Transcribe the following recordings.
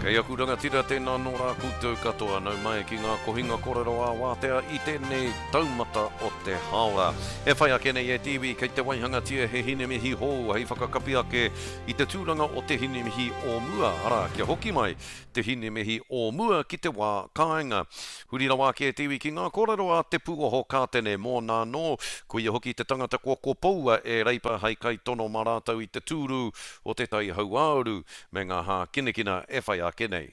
Kei aku rangatira tēnā nō rā koutou katoa nau mai ki ngā kohinga korero ā-wātea i tēnei taumata o te hāora. E whai ake nei e te iwi kei te waihangatia he hinemihi hou hei whakakapi ake i te tūranga o te hinemihi o mua, arā, kia hoki mai te hinemihi o mua ki te wā kāinga. Huri rawa ake te iwi ki ngā kōrero a Te Pūoho Kātene mōna anō, koia hoki te tangata kua kopoua e Reipa hei kaitono mā rātou i te tūru o Te Tai Hauāuru me ngā hākinakina e whai ake nei.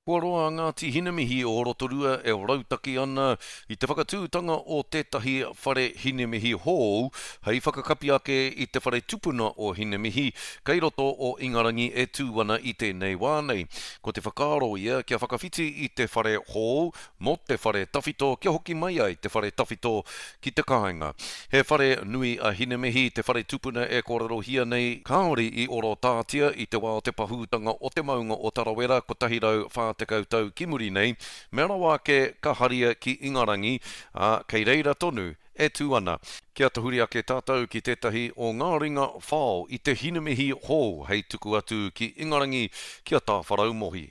Kua roa a Ngāti Hinemihi o Rotorua e rautaki ana i te whakatūtanga o tētahi whare hinemihi hou hei whakakapi ake i te whare tupuna o Hinemihi kei roto o Ingarangi e tū ana i tēnei wā nei. Ko te whakaaro ia kia whakawhiti i te whare hou mō te whare tawhito kia hoki mai ai te whare tawhito ki te kāinga. He whare nui a Hinemihi, te whare tupuna e kōrerohia nei, kāore i orotātia i te wā o te pahūtanga o te maunga o Tarawera 140 tau ki muri nei, mea rawa ake ka haria ki Ingarangi, ā, kei reira tonu e tū ana. Kia tahuri ake tātou ki tētahi o ngā ringa whao i te Hinemihi hou hei tuku atu ki Ingarangi ki a Tāwharau Mohi.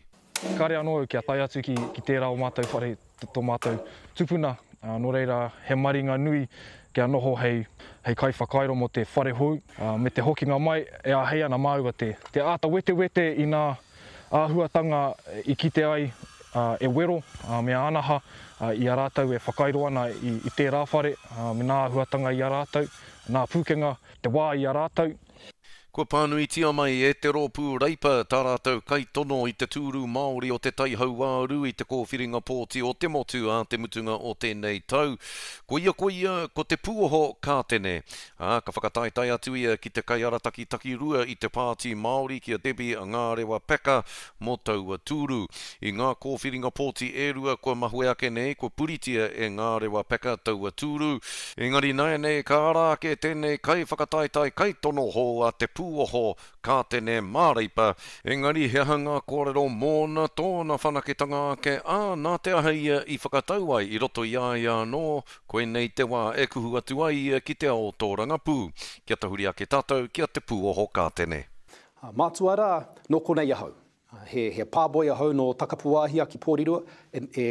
Kāre anō au kia tae atu ki, ki tērā o mātou whare, tō mātou tupuna, nō reira he maringa nui kia noho hei, hei kaiwhakairo mō te whare hou, me te hokinga mai e āhei ana māua te, te āta wetewete i nā āhuatanga i kite ai e Wero me Ānaha i a rātou e whakairo ana i, i tērā whare, me nā āhuatanga i a rātou, nā pūkenga, te wā i a rātou. Kua pānuitia mai e te Rōpū Reipa tā rātou kaitono i te tūru Māori o Te Tai Hauāuru i te kōwhiringa pōti o te motu ā te mutunga o tēnei tau. Koia koia ko Te Pūoho Kātene, ā, ka whakataetae atu ia ki te kaiarataki takirua i te Pāti Māori ki a Debbie Ngārewa Packer mō taua tūru. I ngā kōwhiringa pōti e rua kua mahue ake nei, kua puritia e Ngārewa Packer taua tūru. Engari nāianei ka ara ake tēnei kaiwhakataetae kaitono hou a Te Pūoho Kātene Māreipa, engari he aha ngā kōrero mōna, tōna whanaketanga ake, ā, nā te aha ia i whakatau ai i roto i a ia anō, koinei te wā e kuhu atu ai ia ki te ao tōrangapū. Kia tahuri ake tātou ki a Te Pūoho Kātene. Mātua rā, nō konei ahau. He, he pāboi ahau nō Takapuwāhia ki Pōrirua, e, e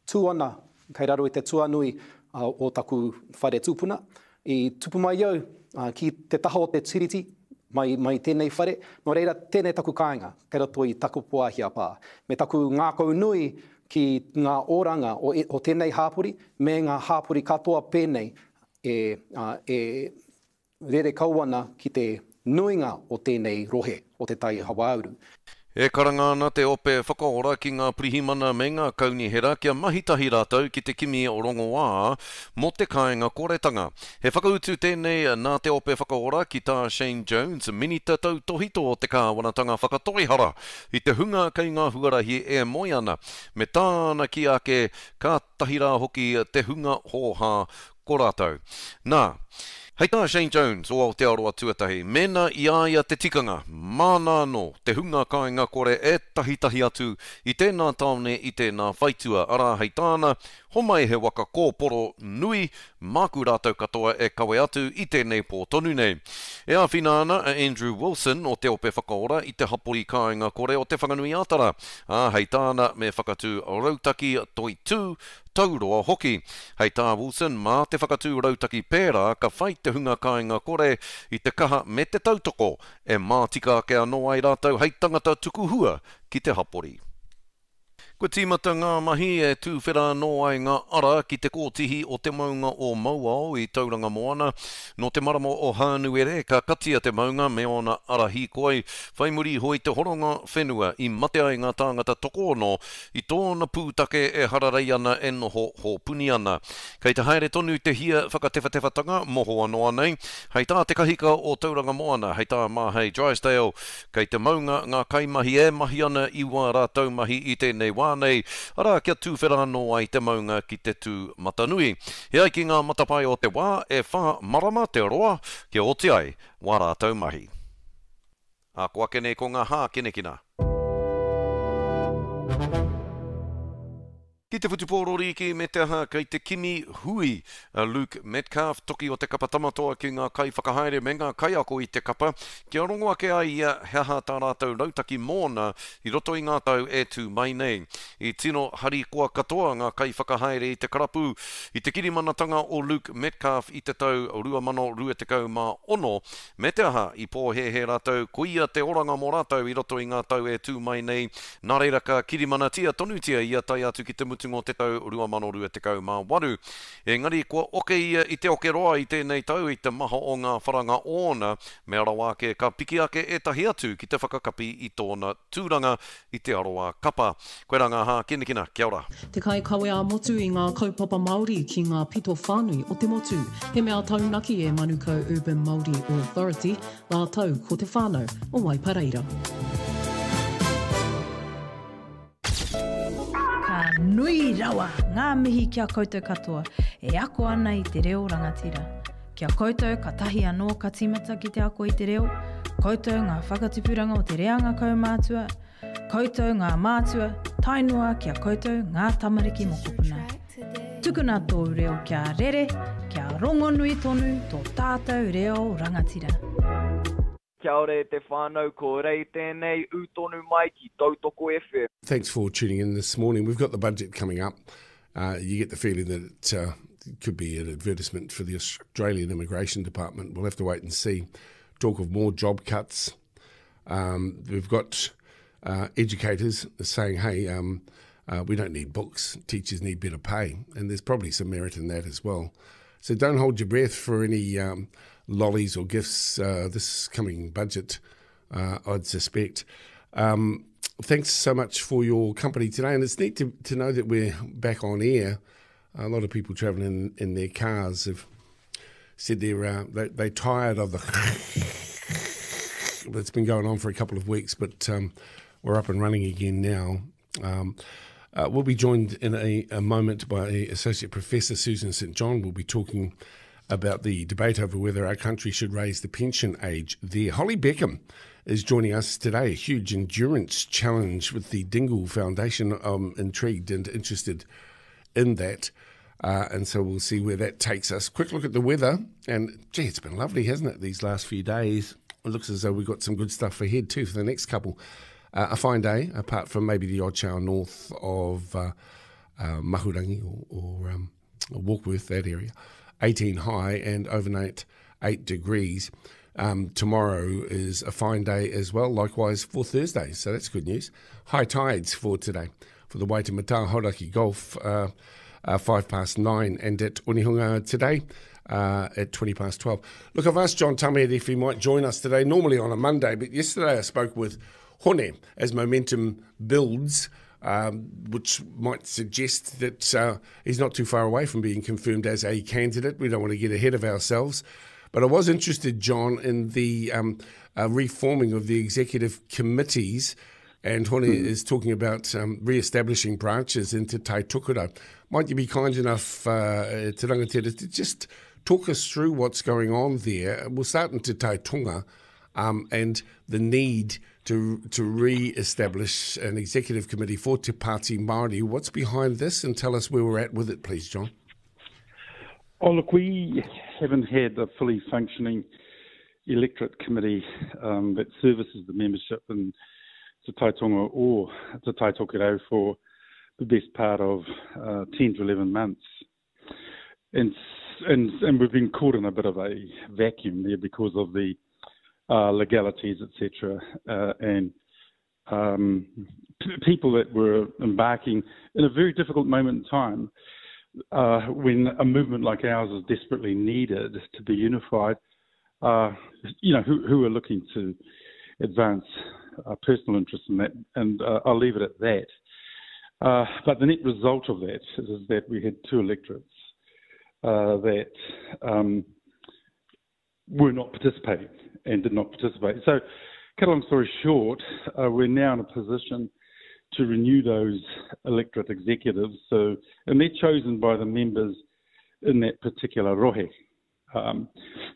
tū ana kei raro i te tuanui o taku whare tūpuna. I tupu mai au ki te taha o te tiriti, mai, mai tēnei whare, nō reira, tēnei taku kāinga, kei roto i Takapuwāhia pā. Me taku ngākau nui ki ngā oranga o, o tēnei hāpori, me ngā hāpori katoa pēnei e, e Rere kau ana ki te nuinga o tēnei rohe o Te Tai Hauāuru. E karanga ana te Ope Whakaora ki ngā pirihimana me ngā kaunihera kia mahi tahi rātou ki te kimi rongoā mō te kāinga koretanga. He whakautu tēnei nā te Ope Whakaora ki tā Shane Jones, Minita Tautōhito o te Kāwanatanga Whakatoihara i te hunga kei ngā huarahi e moe ana, me tāna kī ake kātahi rā hoki te hunga hōhā ko rātou. Nā, hei tā Shane Jones o Aotearoa Tuatahi, mēnā i a ia te tikanga, māna anō te hunga kāinga kore e tahitahi atu i tēnā tāone i tēnā whaitua, arā, hei tāna, homai he waka kōporo nui, māku rātou katoa e kawe atu i tēnei pō tonu nei. E āwhina ana a Andrew Wilson o Te Ope Whakaora i te hapori kāinga kore o Te Whanganui-ā-Tara, ā, hei tāna me whakatū rautaki toitū tauroa hoki. Hei tā Wilson, mā te whakatū rautaki pērā ka whai te hunga kāinga kore i te kaha me te tautoko e mātika ake anō ai rātou hei tangata tuku hua ki te hapori. Kua tīmata ngā mahi e tūwhera anō ai ngā ara ki te kōtihi o te maunga o Mauao i Tauranga Moana. Nō te marama o Hānuere ka katia te maunga me ōna ara hīkoi, whai muri iho i te horonga whenua i mate ai ngā tāngata tokoono I tōna pūtake e hararei ana e noho hōpuni ana. Kei te haere tonu te hia whakatewhatewhatanga mohoa noa nei. Hei tā te kahika o Tauranga Moana, hei tā Māhei Drysdale, kei te maunga ngā kaimahi e mahi ana i wā rātou mahi i tēnei wā nei, arā kia tūwhera anō ai te maunga ki te tū matanui. E ai ki ngā matapae o te wā, e whā marama te roa kia oti ai wā rātou mahi. Ā, ko ake nei ko ngā hākinakina. Ki te whutupōro rīki me te aha kei te kimi hui a Luke Metcalf, toki o te kapa Tamatoa ki ngā kaiwhakahaere me ngā kaiako i te kapa, kia rongo ake ai ia he aha tā rātou rautaki mōna i roto i ngā tau e tū mai nei. I tino harikoa katoa ngā kaiwhakahaere i te karapu i te kirimanatanga o Luke Metcalf i te tau 2026, Me te aha, i pōhēhē rātou koia te oranga mō rātou i roto i ngā tau e tū mai nei, nā reira ka kirimanatia tonutia ia tae atu ki te mutunga o te tau 2028. Engari kua oke ia i te oke roa i tēnei tau i te maha o ngā wharanga ōna, mea rawa ake ka piki ake ētahi atu ki te whakakapi i tōna tūranga i te aroā kapa. Koirā ngā hākinakina, kia ora. Te kaikawe ā-motu i ngā kaupapa Māori ki ngā pito whānui o te motu. He mea taunaki e Manukau Urban Māori Authority rātou ko te whānau o Waipareira. Ka nui rawa ngā mihi ki a koutou katoa e ako ana i te reo rangatira. Ki a koutou katahi anō ka tīmata ki te ako i te reo, koutou ngā whakatipuranga o te reanga kaumātua, koutou ngā mātua, tae noa ki a koutou ngā tamariki mokopuna. Tukuna tōu reo kia rere, kia rongonui tonu tō tātou reo rangatira. Kia ora e te whānau, ko Rei tēnei, ū tonu mai ki Tautoko FM. Thanks for tuning in this morning. We've got the budget coming up. Uh, you get the feeling that it uh, could be an advertisement for the Australian Immigration Department. We'll have to wait and see. Talk of more job cuts. Um, we've got uh, educators saying, hey, um, uh, we don't need books, teachers need better pay. And there's probably some merit in that as well. So don't hold your breath for any um, lollies or gifts uh, this coming budget, uh, I'd suspect. Um, thanks so much for your company today. And it's neat to, to know that we're back on air. A lot of people travelling in, in their cars have said they're, uh, they, they're tired of the that's been going on for a couple of weeks, but um, we're up and running again now. Um, uh, we'll be joined in a, a moment by Associate Professor Susan St. John. We'll be talking about the debate over whether our country should raise the pension age there. Holly Beckham is joining us today. A huge endurance challenge with the Dingle Foundation. I'm intrigued and interested in that. Uh, and so we'll see where that takes us. Quick look at the weather. And gee, it's been lovely, hasn't it, these last few days? It looks as though we've got some good stuff ahead too for the next couple. Uh, a fine day, apart from maybe the odd shower north of uh, uh, Mahurangi or, or um, Warkworth, that area. 18 high and overnight 8 degrees. Um, tomorrow is a fine day as well, likewise for Thursday, so that's good news. High tides for today for the Waitemata Hauraki Gulf, uh, uh, 5 past 9, and at Onehunga today uh, at 20 past 12. Look, I've asked John Tamihere if he might join us today, normally on a Monday, but yesterday I spoke with Hone as momentum builds. Um, which might suggest that uh, he's not too far away from being confirmed as a candidate. We don't want to get ahead of ourselves. But I was interested, John, in the um, uh, reforming of the executive committees. And Hone mm. is talking about um, re-establishing branches into Tai Tokerau. Might you be kind enough, uh, Te Rangatira, to just talk us through what's going on there? We'll start in Te Tai Tonga um, and the need to, to re-establish an executive committee for Te Pāti Māori. What's behind this? And tell us where we're at with it, please, John. Oh, look, we haven't had a fully functioning electorate committee um, that services the membership in Te Tai Tonga or Te Tai Tokerau for the best part of uh, 10 to 11 months. And, and, and we've been caught in a bit of a vacuum there because of the uh, legalities, etc., uh, and um, p- people that were embarking in a very difficult moment in time uh, when a movement like ours is desperately needed to be unified, uh, you know, who, who are looking to advance uh, personal interests in that, and uh, I'll leave it at that. Uh, but the net result of that is that we had two electorates uh, that um, were not participating and did not participate. So, cut a long story short, uh, we're now in a position to renew those electorate executives. So, and they're chosen by the members in that particular rohe um,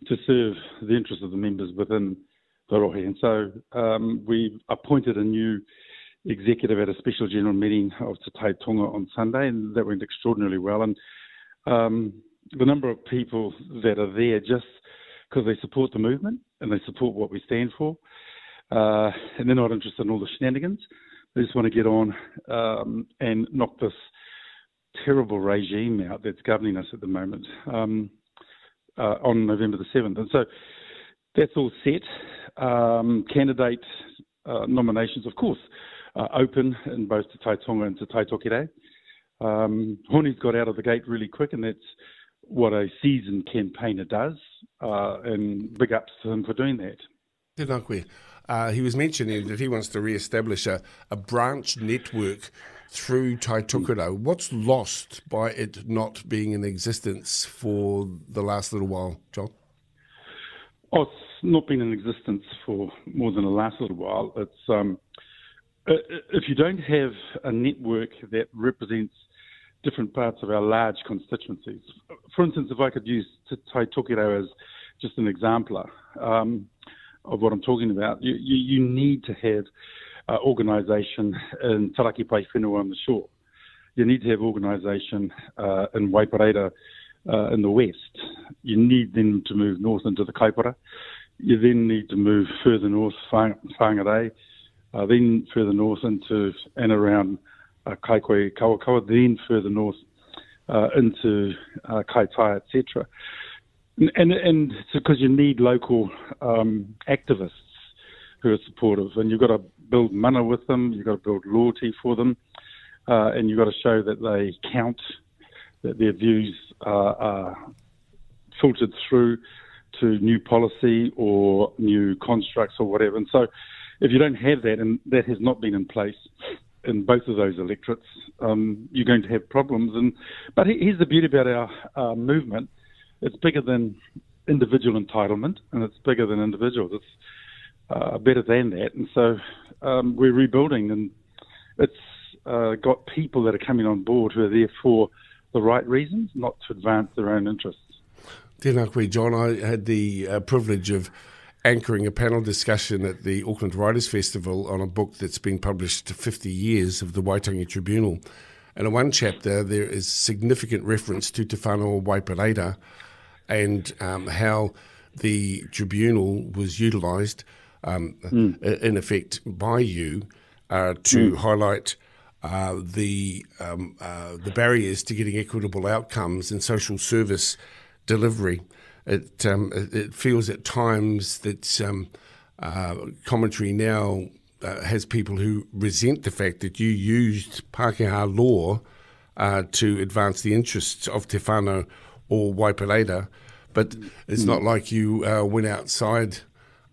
to serve the interests of the members within the rohe. And so um, we've appointed a new executive at a special general meeting of Te Tai Tonga on Sunday, and that went extraordinarily well. And um, the number of people that are there just because they support the movement and they support what we stand for, uh, and they're not interested in all the shenanigans. They just want to get on um, and knock this terrible regime out that's governing us at the moment um, uh, on November the 7th. And so that's all set. Um, candidate uh, nominations, of course, are open in both Te Tai Tonga and Te Tai Tokerau. Um, Honi's got out of the gate really quick, and that's what a seasoned campaigner does, uh, and big ups to him for doing that. Tēnā koe. Uh, he was mentioning that he wants to re-establish a, a branch network through Tai Tokerau. What's lost by it not being in existence for the last little while, John? Oh, it's not been in existence for more than the last little while. It's um, if you don't have a network that represents different parts of our large constituencies. For instance, if I could use Tai Tokerau as just an exemplar um, of what I'm talking about, you, you, you need to have uh, organisation in Taraki Pai Whenua on the shore. You need to have organisation uh, in Waipareira uh, in the west. You need them to move north into the Kaipara. You then need to move further north, Whangarei, uh, then further north into and around uh, Kaikohe Kawakawa, then further north uh, into uh, Kaitai, etc. And, and, and because you need local um, activists who are supportive, and you've got to build mana with them, you've got to build loyalty for them, uh, and you've got to show that they count, that their views are, are filtered through to new policy or new constructs or whatever. And so if you don't have that, and that has not been in place in both of those electorates, um, you're going to have problems. And But here's the beauty about our uh, movement. It's bigger than individual entitlement, and it's bigger than individuals. It's uh, better than that. And so um, we're rebuilding, and it's uh, got people that are coming on board who are there for the right reasons, not to advance their own interests. Tēnā koe, John. I had the uh, privilege of anchoring a panel discussion at the Auckland Writers Festival on a book that's been published 50 years of the Waitangi Tribunal. And in one chapter, there is significant reference to Te Whānau Waipareira and um, how the tribunal was utilised, um, mm. in effect, by you uh, to mm. highlight uh, the, um, uh, the barriers to getting equitable outcomes in social service delivery. It, um, it feels at times that um, uh, commentary now uh, has people who resent the fact that you used Pākehā law uh, to advance the interests of Te Whānau or Waipareira, but it's mm. not like you uh, went outside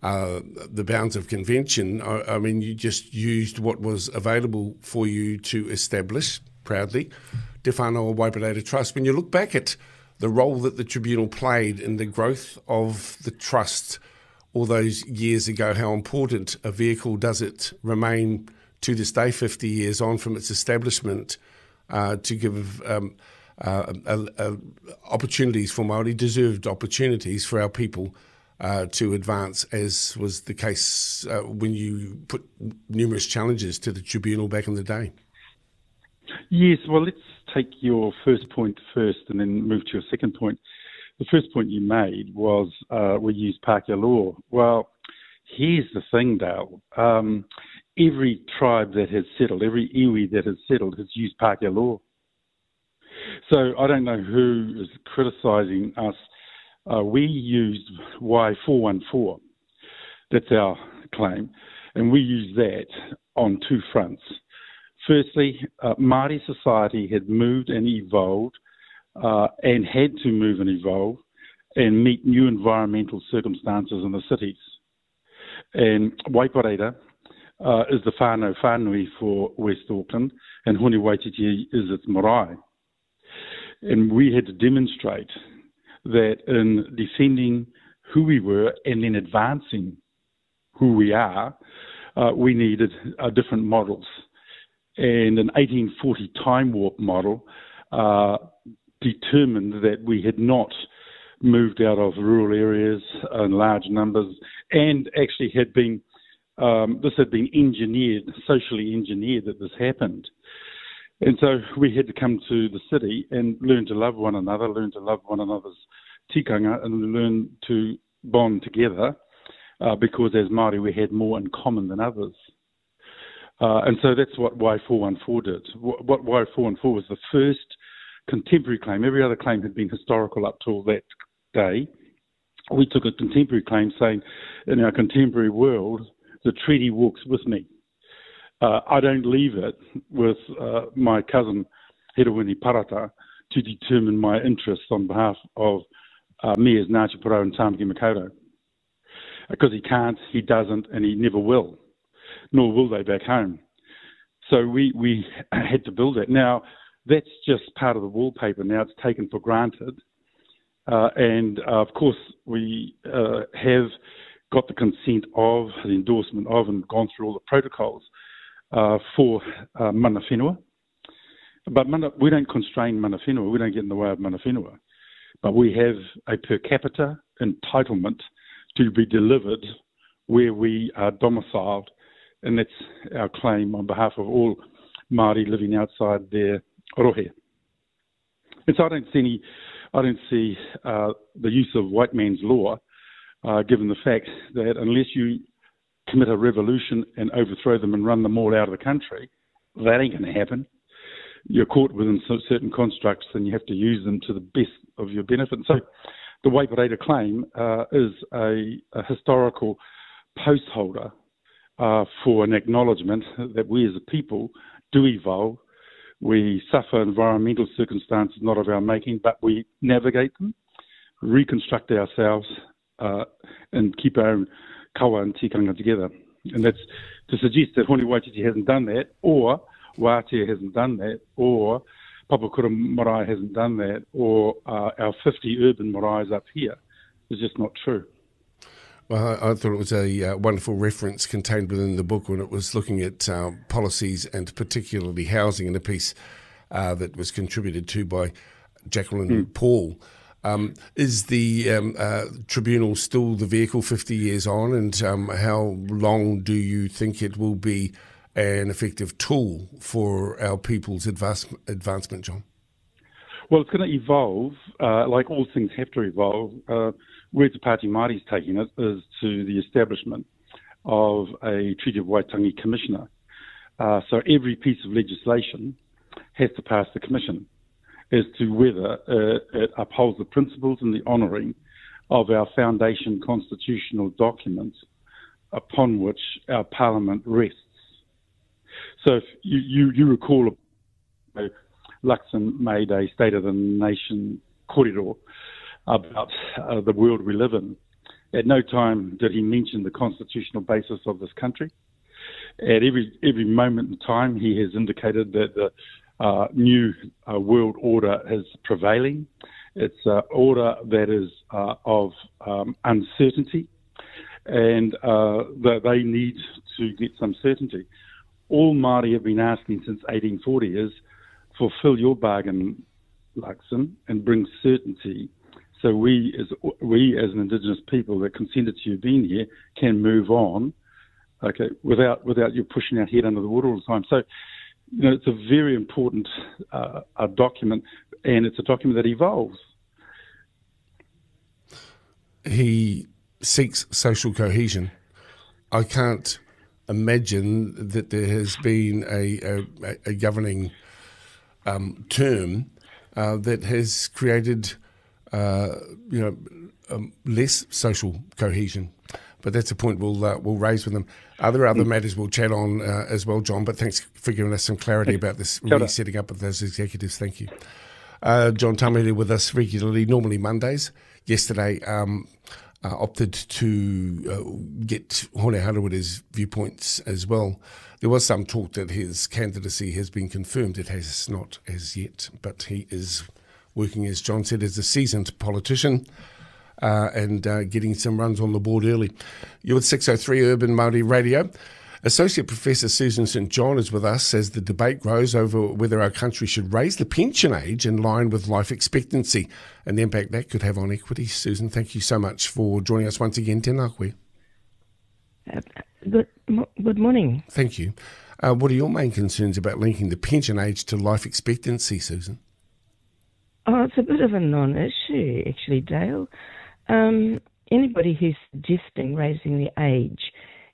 uh, the bounds of convention. I, I mean, you just used what was available for you to establish, proudly, Te Whānau or Waipareira Trust. When you look back at the role that the tribunal played in the growth of the trust all those years ago, how important a vehicle does it remain to this day, 50 years on from its establishment, uh, to give um, uh, uh, opportunities for Māori, deserved opportunities for our people uh, to advance, as was the case uh, when you put numerous challenges to the tribunal back in the day? Yes, well, let's take your first point first and then move to your second point. The first point you made was uh, we use Pākehā law. Well, here's the thing, Dale. Um, every tribe that has settled, every iwi that has settled, has used Pākehā law. So I don't know who is criticising us. Uh, we used Y414. That's our claim. And we use that on two fronts. Firstly, uh, Māori society had moved and evolved uh, and had to move and evolve and meet new environmental circumstances in the cities. And Waipareira uh, is the whānau whānui for West Auckland and Hone Waititi is its marae. And we had to demonstrate that in defending who we were and then advancing who we are, uh, we needed uh, different models. And an 1840 time warp model uh, determined that we had not moved out of rural areas in large numbers and actually had been Um, this had been engineered, socially engineered, that this happened. And so we had to come to the city and learn to love one another, learn to love one another's tikanga, and learn to bond together uh, because as Māori we had more in common than others. Uh, and so that's what Wai 414 did. What Wai 414 was the first contemporary claim. Every other claim had been historical up till that day. We took a contemporary claim saying, in our contemporary world, the treaty walks with me. Uh, I don't leave it with uh, my cousin, Herewini Parata, to determine my interests on behalf of uh, me as Ngāti Porou and Tāmaki Makaurau. Because he can't, he doesn't, and he never will, nor will they back home. So we, we had to build it. Now, that's just part of the wallpaper. Now it's taken for granted. Uh, and uh, of course, we uh, have got the consent of, the endorsement of, and gone through all the protocols uh, for uh, mana whenua. But mana, we don't constrain mana whenua, we don't get in the way of mana whenua. But we have a per capita entitlement to be delivered where we are domiciled, and that's our claim on behalf of all Māori living outside their rohe. And so I don't see any, I don't see uh, the use of white man's law, uh, given the fact that unless you commit a revolution and overthrow them and run them all out of the country, that ain't going to happen. You're caught within certain constructs and you have to use them to the best of your benefit. So the Waipareira claim uh, is a, a historical post holder uh, for an acknowledgement that we as a people do evolve. We suffer environmental circumstances not of our making, but we navigate them, reconstruct ourselves, uh, and keep our own kawa and tikanga together. And that's to suggest that Hone Waititi hasn't done that, or Wātea hasn't done that, or Papakura Marae hasn't done that, or uh, our 50 urban maraes up here is just not true. Well, I, I thought it was a uh, wonderful reference contained within the book when it was looking at uh, policies and particularly housing in a piece uh, that was contributed to by Jacqueline mm. Paul. Um, is the um, uh, tribunal still the vehicle 50 years on, and um, how long do you think it will be an effective tool for our people's advance, advancement, John? Well, it's going to evolve, uh, like all things have to evolve. Uh, where Te Pāti Māori is taking it is to the establishment of a Treaty of Waitangi Commissioner. Uh, so every piece of legislation has to pass the commission as to whether uh, it upholds the principles and the honouring of our foundation constitutional documents upon which our parliament rests. So if you, you, you recall, Luxon made a State of the Nation corridor about uh, the world we live in. At no time did he mention the constitutional basis of this country. At every every moment in time, he has indicated that the uh, new uh, world order is prevailing. It's an order that is uh, of um, uncertainty, and uh, that they need to get some certainty. All Māori have been asking since 1840 is fulfill your bargain, Luxon, and bring certainty so we as we as an indigenous people that consented to you being here can move on, okay, without without you pushing our head under the water all the time. So, you know, it's a very important uh, a document, and it's a document that evolves. He seeks social cohesion. I can't imagine that there has been a, a, a governing um, term uh, that has created, uh, you know, um, less social cohesion. But that's a point we'll uh, we'll raise with them. Are there other mm. matters we'll chat on uh, as well, John? But thanks for giving us some clarity about this resetting up of those executives. Thank you. Uh, John Tamihere with us regularly, normally Mondays. Yesterday, um, uh, opted to uh, get Hone Harawira's viewpoints as well. There was some talk that his candidacy has been confirmed. It has not as yet, but he is working, as John said, as a seasoned politician. Uh, and uh, getting some runs on the board early. You're with 603 Urban Māori Radio. Associate Professor Susan St John is with us as the debate grows over whether our country should raise the pension age in line with life expectancy and the impact that could have on equity. Susan, thank you so much for joining us once again. Tēnā koe. Good, good morning. Thank you. Uh, what are your main concerns about linking the pension age to life expectancy, Susan? Oh, it's a bit of a non issue, actually, Dale. Um, anybody who's suggesting raising the age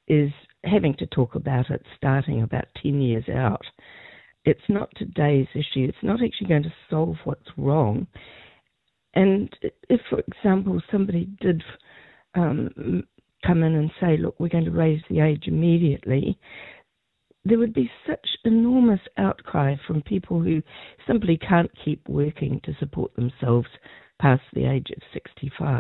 is having to talk about it starting about 10 years out. It's not today's issue. It's not actually going to solve what's wrong. And if, for example, somebody did um, come in and say, look, we're going to raise the age immediately, there would be such enormous outcry from people who simply can't keep working to support themselves past the age of 65.